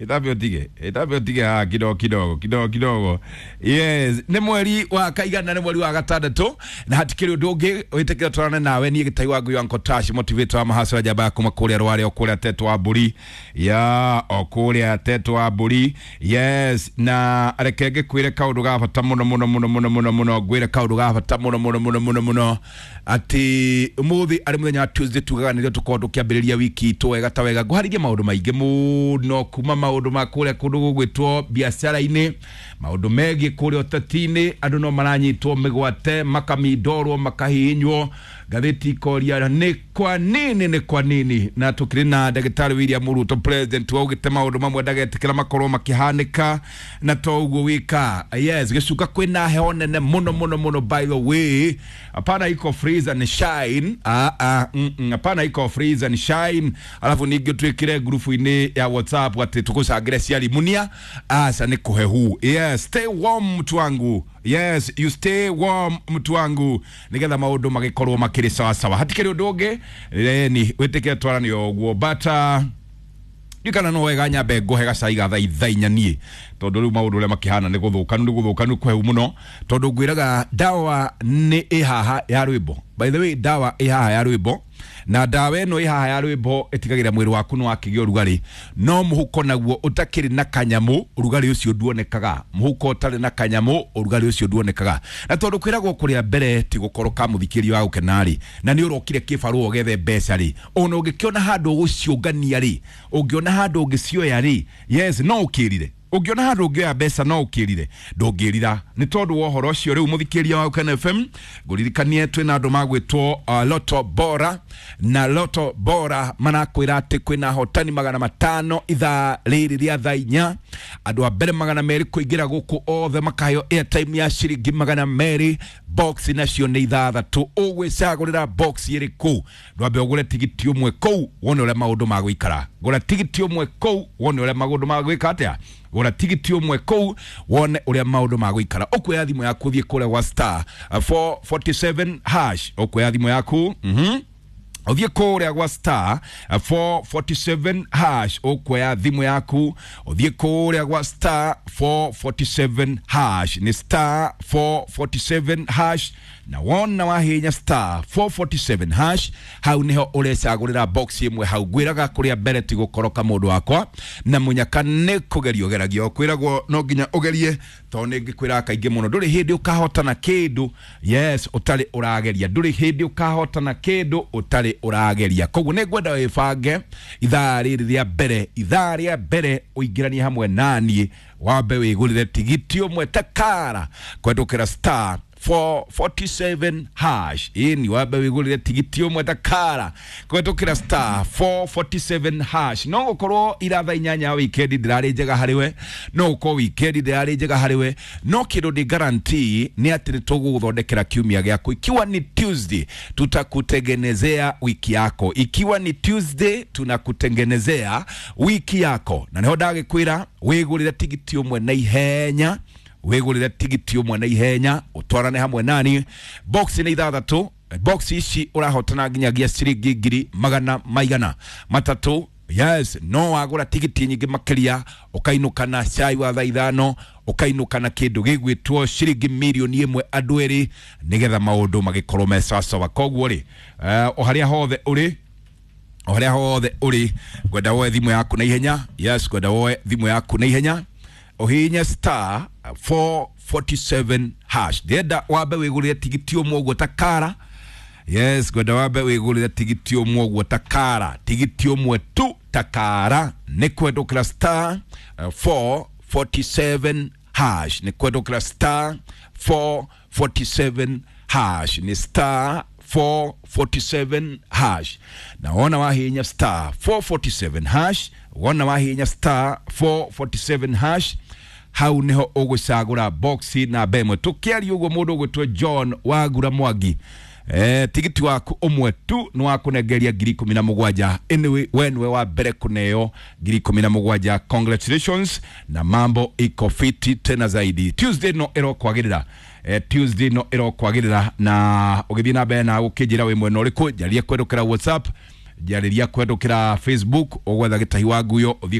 Ĩthambe ũtige, ĩthambe ũtige haha kidogo kidogo kidogo kidogo. Yes, nĩ mweri wa kaigana, nĩ mweri wa gatandatũ, na hatikĩrĩ ũndũ ũngĩ wĩtĩkĩra twarane nawe. Niĩ gĩtai wa ngui wa Nkotash, motivator wa mahaco ya njamba ya kuma kũrĩa Rware, o kũrĩa Tetũ wa Mbũri, ya o kũrĩa Tetũ wa Mbũri. Yes, na reke ngĩkwĩre kaũndũ ga bata mũno mũno mũno mũno mũno mũno, ngwĩre kaũndũ ga bata mũno mũno mũno mũno mũno, atĩ ũmũthĩ arĩ mũthenya wa Tuesday, tugaga nĩrĩo tũkorwo tũkĩambĩrĩria wiki itũ wega ta wega. Ngũharĩrie maũndũ maingĩ mũno, kuma maũndũ ma kũrĩa kũndũ gũgwĩtwo biacara-inĩ, maũndũ megiĩ kũrĩa ũteti-inĩ, andũ no maranyitwo mĩgwate, makamindorwo, makahihinywo, ngathĩti ikoria nĩ kwa nini, nĩ kwa nini. Na tũkĩrĩ na ndagĩtarĩ William Ruto, president, waugĩte maũndũ mamwe ndagetĩkĩra makorwo makĩhanĩka na to ũguo wika. Yes, gĩcuka kwĩna heho nene mũno mũno mũno. By the way, hapana iko freeze and shine. Ah, ah, hapana iko freeze and shine. Alafu ningĩ twĩkĩre ngurubu-inĩ ya WhatsApp atĩ tũgũcangĩre ciari munia aca nĩ kũhehu. Yes, stay warm mtu wangu. Yes, you stay warm mtu wangu, nigetha maũndũ magĩkorwo makĩrĩ sawasawa. Hatikĩrĩ ũndũ ũngĩ ni wĩtĩkĩre twaranio ũguo, but ndikana no wega nyambe ngũhe gacai ga thaa inya niĩ, tondũ rĩu maũndũ ũrĩa makĩhana nĩ gũthũkanu, nĩ gũthũkanu kũhehu mũno, tondũ ngwĩraga ndawa nĩ ĩ haha ya rwĩmbo. By the way, ndawa ĩ haha ya rwĩmbo, na ndawa ĩno ĩ haha ya rwĩmbo ĩtigagĩrĩra mwĩrĩ waku nĩ wakĩgĩa ũrugarĩ, no mũhuko naguo ũtakĩrĩ na kanyamũ, ũrugarĩ ũcio nduonekaga. Mũhuko ũtarĩ na kanyamũ, ũrugarĩ ũcio nduonekaga. Na tondũ kwĩragwo kũrĩa mbere ti gũkorwo ka mũthikĩria wa gũkena rĩ, na nĩ ũrokire kĩbarũa ũgethe mbeca rĩ, ona ũngĩkĩona handũ ũgũciũngania rĩ, ũngĩona handũ ũngĩcioya rĩ, yes, no ũkĩrire. Ũngĩona handũ ũngĩoya mbeca, no ũkĩrire, ndũngĩrira. Nĩ tondũ wa ũhoro ũcio, rĩu mũthikĩria wa Gũkena FM, ngũririkanie twĩna andũ magwĩtwo Loto Bora, na Loto Bora marakwĩra atĩ kwĩna ahotani 500 ithaa rĩrĩ rĩa thaa inya. Andũ a mbere 200 kũingĩra gũkũ othe makaheo airtime ya ciringi 200. Box nacio nĩ ithathatũ, ũgwĩcagũrĩra box ĩrĩkũ? Ndwambe ũgũre tigiti ũmwe kũu wone ũrĩa maũndũ magũikara. Gũra tigiti ũmwe kũu wone ũrĩa maũndũ magwĩka atĩa. Gũra tigiti ũmwe kũu wone ũrĩa maũndũ magũikara. Ũkuoya thimũ yaku, ũthiĩ kũrĩa gwa star 447 hash. Ũkuoya thimũ yaku, ũthiĩ kũrĩa gwa star 447 hash. Ũkuoya thimũ yaku, ũthiĩ kũrĩa gwa star 447 hash, nĩ star 447 hash. Na wona wahinya star 447 hash, hau niho ũrecagũrĩra box ĩmwe hau. Ngwĩraga kũrĩa mbere ti gũkoroka, mũndũ wakwa, na mũnyaka nĩ kũgeria ũgeragio. Kwĩragwo no nginya ũgerie, tondũ nĩ ngĩkwĩraga kaingĩ mũno, ndũrĩ hĩndĩ ũkahotana kĩndũ, yes, ũtarĩ ũrageria. Ndũrĩ hĩndĩ ũkahotana kĩndũ ũtarĩ ũrageria. Koguo nĩ ngwenda wĩbange ithaa rĩrĩ rĩa mbere, ithaa rĩa mbere ũingĩranie hamwe naniĩ, wambe wĩgũrĩre tigiti ũmwe takara kwendũkĩra star 447 hash. Ĩni, wambe wĩgũrĩre tigiti ũmwe takara kũhetũkĩra star 447 hash. No gũkorwo ira thaa inyanya weekend ndĩrarĩ njega harĩ we, no gũkorwo weekend ndĩrarĩ njega harĩ we, no kĩndũ ndĩ guarantee nĩ atĩ nĩ tũgũgũthondekera kiumia gĩaku. Ikiwa ni Tuesday, tutakutengenezea wiki yako. Ikiwa ni Tuesday, tunakutengenezea wiki yako. Na nĩho ndagĩkwĩra wĩgũrĩre tigiti ũmwe na ihenya, wĩgũrĩre tigiti ũmwe na ihenya, ũtwarane hamwe nani. Box nĩ ithathatũ. Box ici ũrahotana nginyagia ciringi ngiri magana maigana matatũ. Yes, no wagũra tigiti nyingĩ makĩria, ũkainũka na cai wa thaa ithano, ũkainũka na kĩndũ gĩgwĩtwo ciringi mirioni 1 andũ erĩ, nĩgetha maũndũ magĩkorwo me sawasawa. Koguo rĩ, o harĩa hothe ũrĩ, o harĩa hothe ũrĩ, ngwenda woe thimũ yaku na ihenya. Yes, ngwenda woe thimũ yaku na ihenya, ũhihinye star 447 hash. Ndĩrenda wambe wĩgũrĩre tigiti ũmwe ũguo takara. Yes, ngwenda wambe wĩgũrĩre tigiti ũmwe ũguo takara, tigiti ũmwe tu takara, nĩ kwendũkĩra star 447 hash, nĩ kwendũkĩra star 447 hash, nĩ star 447 hash. Na wona wahinya star 447 hash, wona wahinya star 447 hash, hau niho ũgũcagũra box namba ĩmwe. Tũkĩaria ũguo, mũndũ ũgwĩtwo John Wagura Mwangi, tigiti waku ũmwe tu nĩ wakũnengeria 17,000. Anyway, we nĩwe wa mbere kũneo 17,000. Congratulations, na mambo iko fiti tena zaidi. Tuesday no ĩrokwagĩrĩra, Tuesday no ĩrokwagĩrĩra, na ũgĩthiĩ na mbere na gũkĩnjĩra wĩ mwena ũrĩkũ, njarie kwendũkĩra WhatsApp, njarĩria kwendũkĩra Facebook, ũgwetha Gĩtahi wa Nguyo, ũthiĩ.